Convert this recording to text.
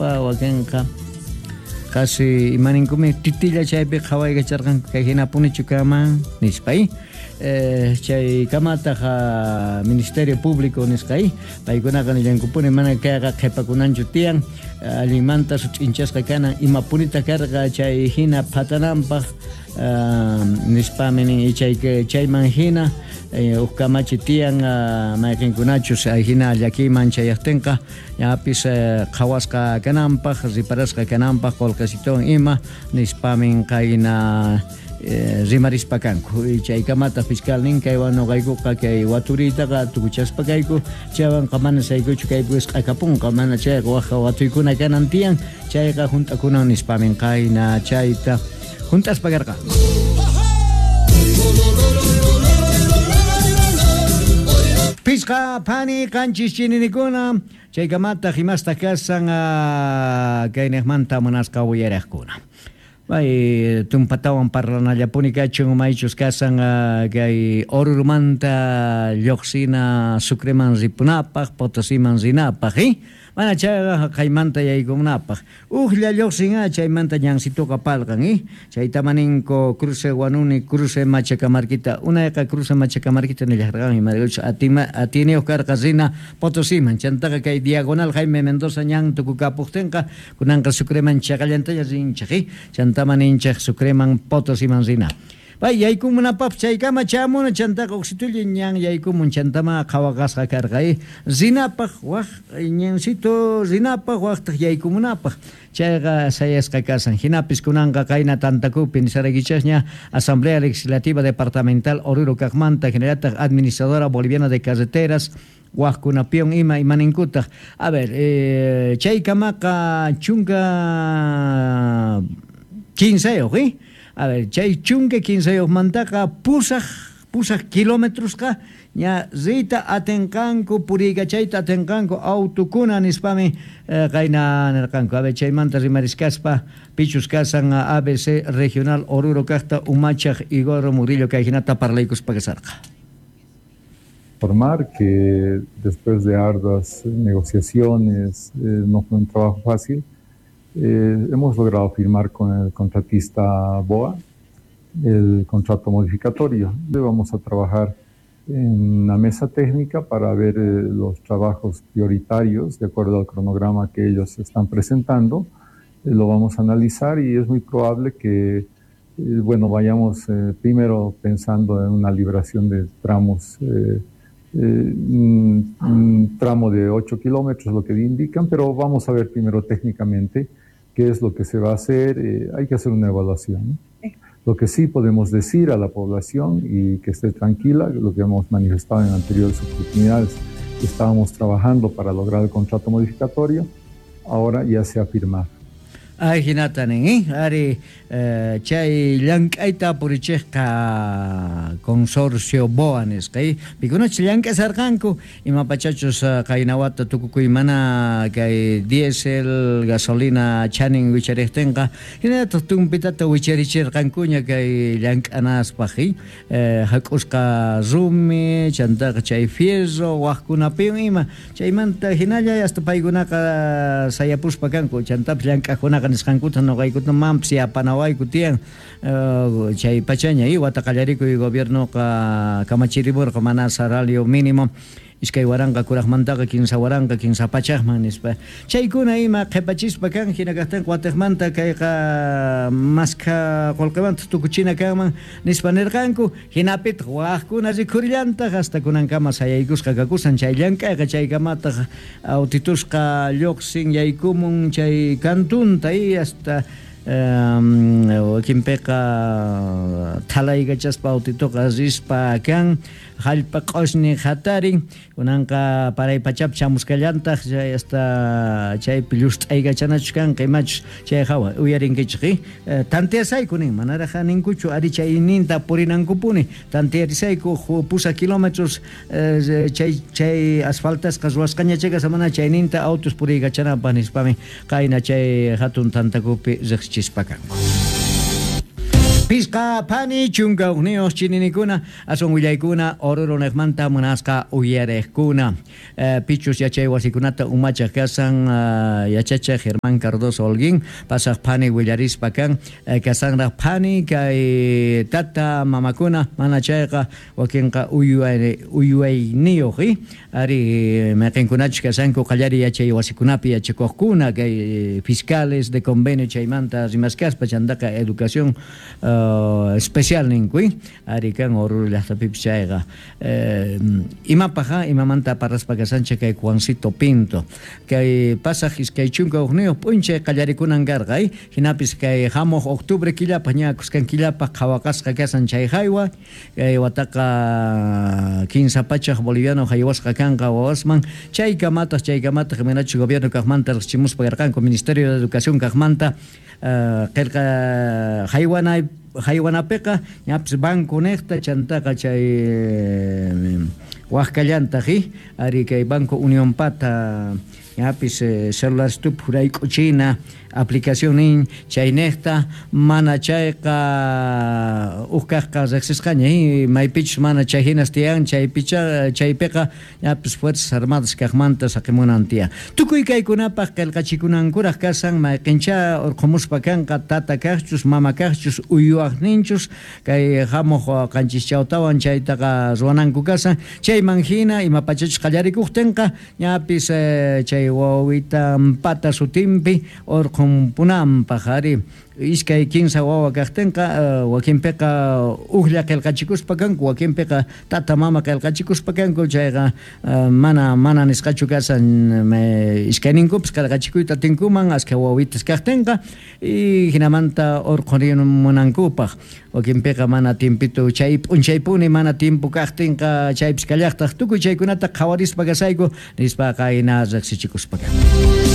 nispa wakinqa qasi imaninkumi titilla chaypi qhawaykacharqanku kay hinapunichu kanman nispa chay kamataq Ministerio Público nisqa paykunaqa nillankupuni mana kayqa qhipakunanchu tiyan allinmanta sut'inchasqa kanan imapunita karqa chay hina phatananpaq nispami nin chay chayman hina uj kamachi tiyan mayqinkunachus hina llakiyman chayaqtinqa ñapis qhawasqa kananpaq riparasqa kananpaq qolqesituwan ima nispamin qayna rimarispa kanku chaykamata fiscal nin kaywan noqaykuqa kay waturiytaqa tukuchaspa kayku chaywanqa mana saykuchu kaypi wisq'akapunqa mana chayqa waj watuykuna kanan tiyan chayqa junt'akunan nispamin qayna chayta junt'aspa karqa. Pisqa phani qanchis chininikuna chaykamataq imasta kasan kayniqmanta munasqa uyariqkuna. Bay tumpatawan parlanallapuni kachun maychus kasan kay Oruromanta lluqsina Sucreman ripunapaq, Potosiman rinapaq, mana chayqa jaqaymanta yaykunapaq. Ujlla lluqsin chaymanta ñansituqa palqan, chaytama ninku cruce Huanuni, cruce Machacamarquita, unayqa cruce Machacamarquita nillarqan imaraykuchus atiyniyuq karqa rina Potosiman, chantaqa kay diagonal Jaime Mendoza ñan tukukapuqtinqa kunanqa Sucreman chaqallantaña rinchik, chantama ninchik Sucreman Potosiman rina. Pay yaykumunapaq chaykama chamuna chantaqa uksitulla ñan yaykumun chantama qhawaqasqa karqa rinapaq waj ñansito rinapaq wajtaq yaykumunapaq chayqa sayasqa kasan hinapis kunanqa qayna tantakupi nisaraykichasña Asamblea Legislativa Departamental Oruro kaqmanta hinallataq Administradora Boliviana de Carreteras wajkunapiwan ima imaninkutaq a ver chaykamaqa chunka kinsayuq a ver chay chunka kinsayuqmantaqa pusaq kilometrosqa ña riyta atinqanku puriykachayta atinqanku autukuna nispami qayna nirqanku a ver chaymanta rimariskaspa pichus kasan ABC Regional Oruro kaqta umachaq Igor Murillo kay hinata parlaykuspa kasarqa. Informar que después de arduas negociaciones, no fue un trabajo fácil, hemos logrado firmar con el contratista BOA el contrato modificatorio. Vamos a trabajar en una mesa técnica para ver los trabajos prioritarios de acuerdo al cronograma que ellos están presentando. Lo vamos a analizar y es muy probable que bueno, vayamos primero pensando en una liberación de tramos, un tramo de 8 kilómetros, lo que indican, pero vamos a ver primero técnicamente qué es lo que se va a hacer. Hay que hacer una evaluación, ¿no? Lo que sí podemos decir a la población y que esté tranquila, lo que hemos manifestado en anteriores oportunidades, estábamos trabajando para lograr el contrato modificatorio, ahora ya se ha firmado. Ay, hinata nin, Ari, chay llank'ayta purichejqa consorcio BOA nisqa, pikunachu llank'asarqanku imapachachus qaynawata tukukuy mana kay diésel, gasolina chanin wichariqtinqa hinallataq tumpitata wicharichirqankuña kay llank'anaspaq, hak'usqa rumi, chantaqa chay fierro, wajkunapiwan ima, chaymanta hinalla hasta paykunaqa sayapuspa kanku, chantapis llank'aqkunaqa nisqankuta noqaykuta mampis yapanawayku tiyan chay pachaña wata qallarikuy gobiernoqa kamachirimurqa mana salario mínimo iskay waranqa kuraqmantaqa kinsa waranqa kinsa pachaqman nispa chaykuna ima qhipachispa kan hina kaqtinqa watiqmanta kayqa maskha qullqimanta tukuchina kanman nispa nirqanku hinapitaq wajkuna rikhurillantaq hasta kunankama sayaykusqa kakusan chay llank'ayqa chaykamataq autitusqa lluqsin yaykumun chay kantunta hasta wakinpiqa thalaykachaspa autituqa rispa kan jallp'a q'ushni hatarin kunanqa paray pachapi chamuskallantaq chay hasta chaypi llust'aykachanachus kanqa imachus chay hawa uyarinkichik tanteasayku nin manaraq ninkuchu ari chayninta purinankupuni tantearisayku 8 kilómetros chay asfaltasqa ruwasqaña chayqa mana chayninta autos puriykachanapaq nispami qayna chay hatun tantakupi riqsichispa kanku. Pisqa phani 11 chininikuna aswan willaykuna Oruro niqmanta munasqa uyariqkuna. Pichus yachay wasikunata umachaq kasan yachachiq Germán Cardoso Holguín pasaq phani willarispa kan kasanraq phani kay tata mamakuna mana chayqa wakinqa uywayniyuq ari mayqinkunachus kasanku qallariy yachay wasikunapi yachakuqkuna kay fiscales de convenio chaymanta rimaskaspa chantaqa educación especial ninku ari kan Oruro llaqtapipis chayqa imapaq imamanta parlaspa kasanchik kay Juancito Pinto kay pasaq 21 p'unchay qallarikunan karqa hinapis kay hamuq octubre killapaq ña kuskan killapaq qhawaqasqa kasan chay haywa kay wataqa 300 boliviano haywasqa kanqa wawasman chaykamataq imaynachus gobierno kaqmanta riqchimuspa karqanku Ministerio de Educación kaqmanta qillqa haywanapiqa ñapis banco niqta chantaqa chay waqkallantaq ari kay Banco Unión Pata ñapis celular stup jurayk'uchina aplicación nin chayniqta mana chayqa uj kaqqa riqsisqaña maypichus mana chay hinas tiyan chaypiqa ñapis Fuerzas Armadas kaqmanta saqimunan tiyan tukuy kaykunapaq qillqachikunankuraq kasan mayqincha urqhumuspa kanqa tata kaqchus mama kaqchus uywaqninchus kay hamuq 7 chawtawan chaytaqa ruwananku kasan chayman hina ima pachachus qallarikuqtinqa ñapis chay wawitanpata sutinpi urqhunpunanpaq ari iskay 15 wawa kaqtinqa wakinpiqa ujlla qillqachikuspa kanku wakinpiqa tata mama qillqachikuspa kanku chayqa mana nisqachu kasan iskayninkupis qillqachikuyta atinkuman askha wawitas kaqtinqa y hinamanta urqhurimunankupaq wakinpiqa mana tiempito chay p'unchaypuni mana tiempo kaqtinqa chaypis kallaqtaq tukuy chaykunata qhawarispa kasayku nispa qayna riqsichikuspa.